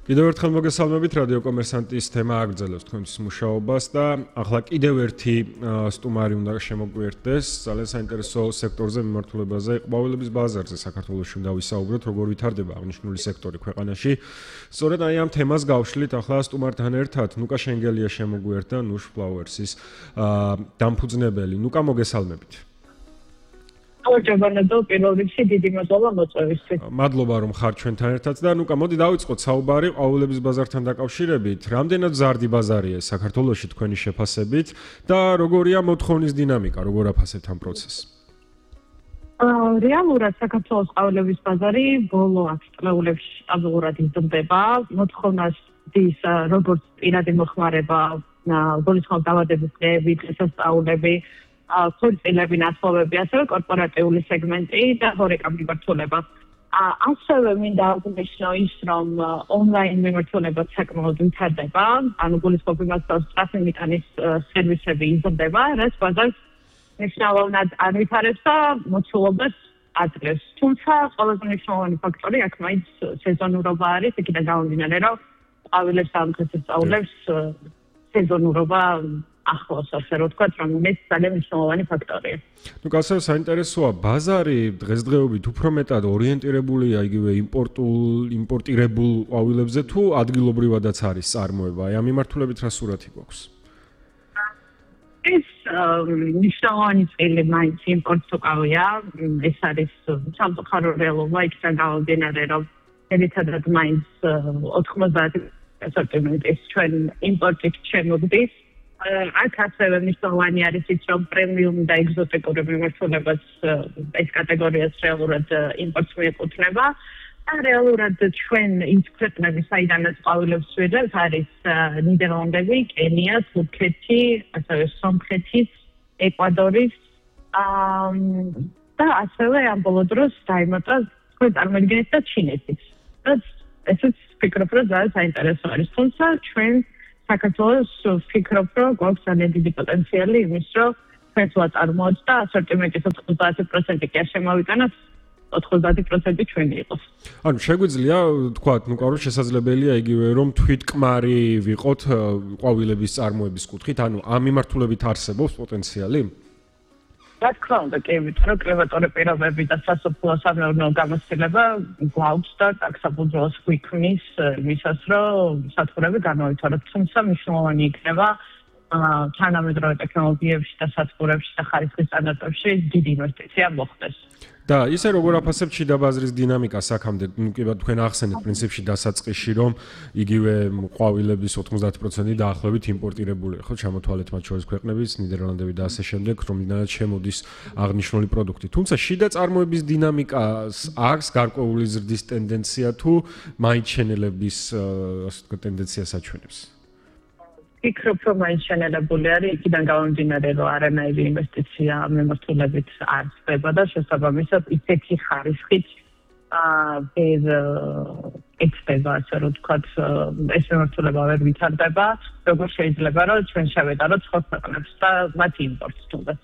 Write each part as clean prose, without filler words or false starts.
კიდევ ერთხელ მოგესალმებით რადიო კომერსანტის თემა აგრძელებს თქვენთვის მუშაობას და ახლა კიდევ ერთი სტუმარი უნდა შემოგვიერთდეს ძალიან საინტერესო სექტორზე მიმართულებაზე ყვავილების ბაზარზე საქართველოში უნდა ვისაუბროთ როგორ ვითარდება აღნიშნული სექტორი ქვეყანაში სწორედ აი ამ თემას გავშლით ახლა სტუმართან ერთად ნუკა შენგელია შემოგვიერთდა Nush Flowers-ის დამფუძნებელი ნუკა მოგესალმებით ორჯერბანადო პირველ რიგში დიდი მადლობა მოწვევისთვის. მადლობა რომ ხარ ჩვენთან ერთად და ნუკა მოდი დავიწყოთ საუბარი ყვავილების ბაზართან დაკავშირებით. რამდენად ზარდი ბაზარია საქართველოში თქვენი შეფასებით და როგორია მოთხოვნის დინამიკა, როგორ აფასებთ ამ პროცესს? რეალურად საქართველოს ყვავილების ბაზარი ბოლო 10 წლებში სტაბილურად იზრდება. მოთხოვნას დის როგორც პირადი მოხმარება, გულისხმობ დაავადების დღეები, დღესასწაულები ქორწილები, ნათლობები, ასევე კორპორატიული სეგმენტი და ჰორეკა მიმართულება. ასევე მინდა აღნიშნო ის, რომ ონლაინ მიმართულება საკმაოდ ვითარდება, ანუ გულისხმობ იმას, რომ სწრაფი მიტანის სერვისები იზრდება, რაც ბაზარს მნიშვნელოვნად ანვითარებს და მოცულობას აძლევს. თუმცა ყველაზე მნიშვნელოვანი ფაქტორი აქ მაინც სეზონურობა არის, იქიდან გამომდინარე, რომ ყვავილებს ამ დღესასწაულებს სეზონურობა ახლოს ასე რომ ვთქვათ, რომ ეს ძალიან მნიშვნელოვანი ფაქტორია. ნუ გასაო საინტერესოა, ბაზარი დღესდღეობით უფრო მეტად ორიენტირებულია იგივე იმპორტირებულ ყვავილებზე თუ ადგილობრივადაც არის წარმოება. აი ამ მიმართულებით რა სურათი გვაქვს? ეს მნიშვნელოვანი წილი მაინც იმპორტს უკავია. ეს არის სამწუხარო რეალობა, იქიდან გამომდინარე, რომ ერთადერთად მაინც 90% ასორტიმენტის ჩვენ იმპორტით შემოგდის. აქ ასევე მნიშვნელოვანი არის ის, რომ პრემიუმ და ეგზოტიკური მიმართულებას ეს კატეგორიას რეალურად იმპორტს მიეკუთვნება. და რეალურად ჩვენ იმ ქვეყნების საიდანაც ყვავილებს ვიღებთ არის ნიდერლანდები, კენია, თურქეთი, ასევე სომხეთი, ეკვადორი და ასევე ამ ბოლო დროს დაემატა თქვენ წარმოგიდგენთ და ჩინეთიც. ესეც ვფიქრობ, რომ ძალიან საინტერესო არის. თუმცა ჩვენ საქართველოს ვფიქრობ, რომ გვაქვს ძალიან დიდი პოტენციალი იმის, რომ ჩვენ სულ წარმოაჩთ და ასორტიმენტის 90% კი არ შემოვიტანოთ, 90% ჩვენი იყოს. ანუ შეგვიძლია თქვათ, ნუ კარო შესაძლებელია იგივე რომ თვითკმარი ვიყოთ ყვავილების წარმოების კუთხით, ანუ ამ მიმართულებით არსებობს პოტენციალი? რა თქმა უნდა, კი, იმიტომ რომ კლიმატური პირობები და სასოფლო სამეურნეო გამოცდილება გვაქვს და აქ საფუძველს გვიქმნის იმისას, რომ სათბურები განავითაროთ. თუმცა მნიშვნელოვანი იქნება თანამედროვე ტექნოლოგიებში და სათბურებში და ხარისხის სტანდარტებში დიდი ინვესტიცია მოხდეს. და ისე როგორ აფასებთ შიდა ბაზრის დინამიკას აქამდე, ნუ კი თქვენ ახსენეთ პრინციპში დასაწყისში, რომ იგივე ყვავილების 90% დაახლოებით იმპორტირებულია, ხო, ჩამოთვალეთ მათ შორის ქვეყნების, ნიდერლანდები და ასე შემდეგ, რომლიდანაც შემოდის აღნიშნული პროდუქტი. თუმცა შიდა წარმოების დინამიკას აქვს გარკვეული ზრდის ტენდენცია თუ მაინც შენელების, ასე ვთქვათ, ტენდენციას აჩვენებს? ვფიქრობ, რომ მაინც შენელებული არის, იქიდან გამომდინარე, რომ არანაირი ინვესტიცია მიმართულებით არ ხდება და შესაბამისად ისეთი ხარისხით ვერ ეცდება, ასე რომ ვთქვათ, ეს მიმართულება ვერ ვითარდება, როგორ შეიძლება, რომ ჩვენ შევეტაროთ სხვა ქვეყნებს და მათ იმპორტს თუნდაც.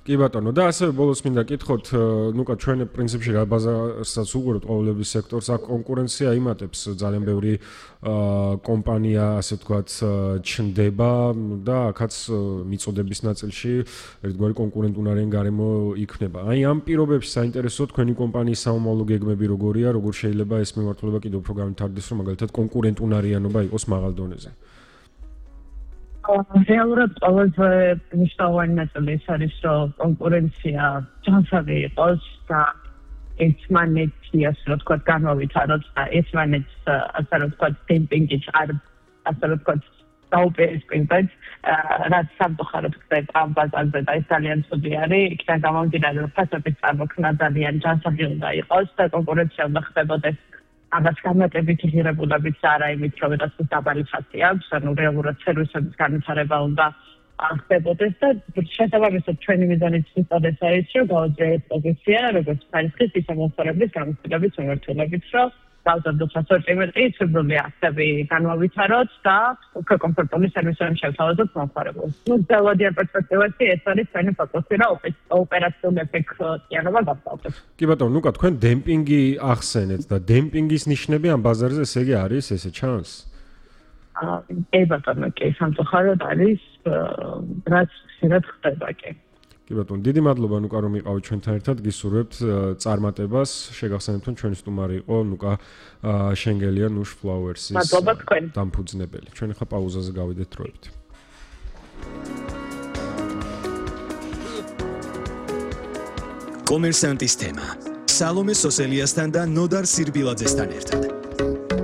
კი ბატონო, და ასევე ბოლოს მინდა კითხოთ, ნუკა ჩვენ პრინციპში რა ბაზარსაც უყურებთ ყვავილების სექტორს, აქ კონკურენცია იმატებს, ძალიან ბევრი კომპანია, ასე ვთქვათ, ჩნდება და აქაც მიწოდების ნაწილში ერთგვარი კონკურენტუნარიანი გარემო იქნება. აი ამ პირობებში საინტერესოა თქვენი კომპანიის საომავლო გეგმები როგორია, როგორ შეიძლება ეს მიმართულება კიდევ უფრო განვითარდეს, რომ მაგალითად კონკურენტუნარიანობა იყოს მაღალ დონეზე. რეალურად ყველაზე მნიშვნელოვანი ნაწილი ის არის, რომ კონკურენცია ჯანსაღი იყოს და ერთმანეთი, ასე რომ ვთქვათ, განავითაროთ და ერთმანეთს, ასე რომ ვთქვათ, დემპინგით არ, ასე რომ ვთქვათ, დაუპირისპირდეთ, რაც სამწუხაროდ ხდება ამ ბაზარზე და ეს ძალიან ცუდი არის. იქიდან გამომდინარე, რომ ფასების წარმოქმნა ძალიან ჯანსაღი უნდა იყოს და კონკურენცია უნდა ხდებოდეს ამას განმარტებით ღირებულებიც არა იმით, რომ ვიღაცას დაბალი ხასი აქვს, ანუ რეალურად სერვისების განვითარება უნდა ხდებოდეს და შესაბამისად ჩვენი მიზანიც ის არის, რომ გავაძლიეროთ პოზიცია, როგორც ხარისხის, ისე მოსწორების გამოცდილების მიმართულებით, რომ გავზარდოთ ასორტიმენტი, ცნობილი აქცები განვავითაროთ და უფრო კომფორტული სერვისები შევთავაზოთ მომხმარებელს. დელოდიან პერსპექტივაში ეს არის ჩვენი ფოკუსი რა ოპერაციული ეფექტიანობა გასწავლოთ. კი ბატონო, ნუკა თქვენ დემპინგი ახსენეთ და დემპინგის ნიშნები ამ ბაზარზე ესე იგი არის, ესე ჩანს? ბატონო, კი, სამწუხაროდ არის, რაც ხშირად ხდება კი. კი ბატონო, დიდი მადლობა ნუკა რომ იყავით ჩვენთან ერთად, გისურვებთ წარმატებას. შეგახსენებთ რომ ჩვენი სტუმარი იყო ნუკა შენგელია Nush Flowers-ის დამფუძნებელი. ჩვენ ახლა პაუზაზე გავიდეთ დროებით. კომერსანტის თემა. სალომე სოსელიასთან და ნოდარ სირბილაძესთან ერთად.